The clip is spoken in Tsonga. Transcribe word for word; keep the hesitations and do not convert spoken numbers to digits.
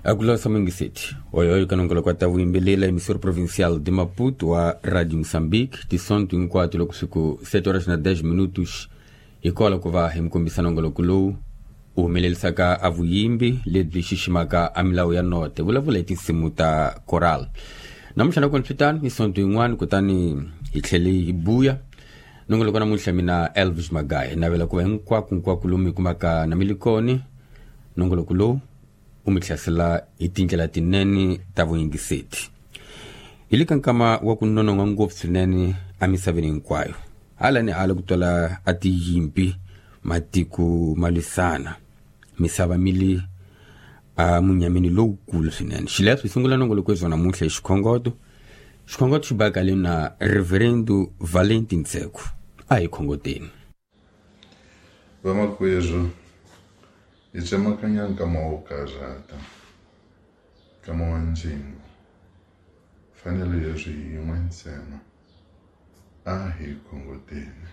Akulosa Mungiseti oyoyo kanongolo ta vuyimbelela emissora provincial de Maputo wa Radio Moçambique tisonto hinkwato loko siku sete horas na dez minutos hikola ku va hi mi kombisa nongoloko lowu u humelelisaka a vuyimbi lebyi xiximaka a milawu ya note vulavula hi tinsimu ta coral. Namuntlha na kona swi tano hi sonto yin'wana kutani hi tlhele hi buya nongoloko namuntlha mina Elvis Magaye navela ku va hinkwako hinkwako lomu hi kumaka na milikoni nongoloko lowu u mi hlasela hi tindlela tinene ta vuyingiseti. Hi le ka nkama wa ku nonon'hwa ngopfu swinene emisaveni hinkwayo, hala ni hala ku twala a tiyimpi, matiko ma lwisana, misava mi le a munyameni lowukulu swinene. Xileswo hi sungula nongoloko wa namuntlha hi xikhongoto. Xikhongoto xi bakale na Reverendo Valentin Tseko. A hi khongoteni. Vamakwerhu, hi tsemakanya nkama wo karhata, nkama wa ndzingo. Fanele leswi hi yin'we ntsena, a hi khongoteni.